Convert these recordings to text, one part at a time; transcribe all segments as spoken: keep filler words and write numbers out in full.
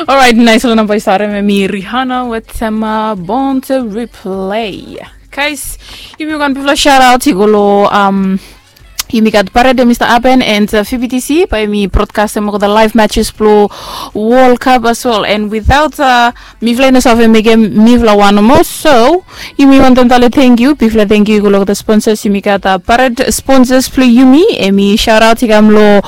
Orait, nais long namba i start em i Rihanna wetem Born to Replay. Guys, yumi wan bifala shout out i go long um, yumi gat parade em i stap happen and uh, F B T C bae yumi broadcast em olgeta live matches blong World Cup as well. And without uh, mifala i no save mekem mifala wan nomo. So yumi wantem tale thank you, bigfala thank you i go long olgeta sponsors. Yumi gat uh, parade sponsors blong yumi. Em i shout out i kam long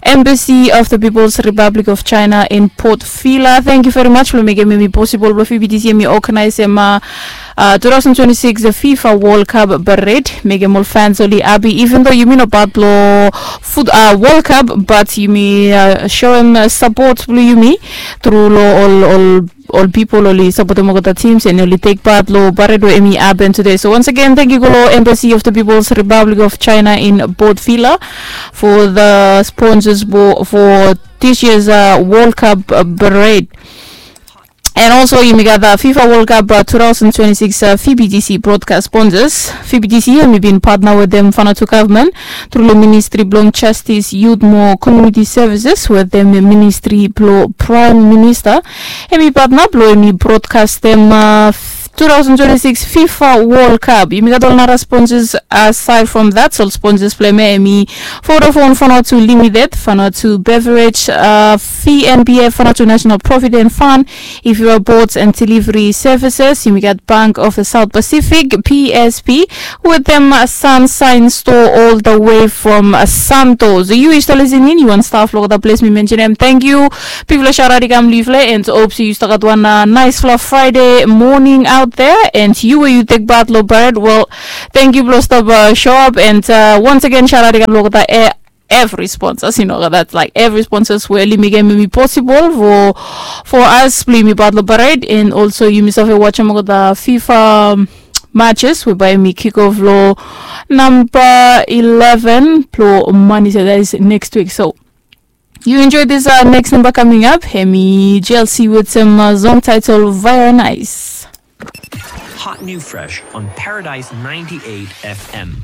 Embassy of the People's Republic of China in Port Vila. Thank you very much blong mekem em i possible blong F B T C em i organize em uh, uh, two thousand twenty-six the FIFA World Cup parade. Mekem ol fans oli happy, even though yumi no part blong foot uh, World Cup, but yumi uh, show em uh, support blong yumi through long ol ol ol people oli sapotem olgeta teams and oli take part long parade we em i happen today. So once again, thank you go long Embassy of the People's Republic of China in Port Vila for the sponsors for this year's uh, World Cup uh, parade. And also yumi gat uh, FIFA World Cup uh, two thousand twenty-six uh, F B T C broadcast sponsors. F B T C yumi bin partner wetem Vanuatu government through long Ministry blong Justice, Youth mo Community Services wetem Ministry blong Prime Minister. Em i partner blong em i broadcastem uh, two thousand twenty-six FIFA World Cup. Yumi gat ol nara sponsors aside from that. So sponsors blong em i Vodafone Vanuatu Limited, Vanuatu Beverage, uh, V N B F, Vanuatu National Profit and Fund, If you are Boards and Delivery Services, yumi gat Bank of the South Pacific, P S P, wetem uh, Sunshine Store all the way from uh, Santos. Yu i stap listening, yu wan stap long olgeta ples mi mention em. Thank you. Bigfala shout out i kam long yufala and hope se yu stap gat wan uh, nicefala Friday morning out there. And yu we yu take part long parade, well, thank you blong stap uh, show up and uh, once again shout out i kam long olgeta eh, every sponsors, you know, that's like every sponsors we oli mekem em i possible for for us blong yumi part long parade. And also yumi save wajem olgeta FIFA matches we bae yumi kick off long namba eleven blong Monday, so that is next week. So you enjoy this uh, next number coming up. Em i G L C wetem uh, song title Very Nice. Hot new fresh on Paradise ninety-eight F M.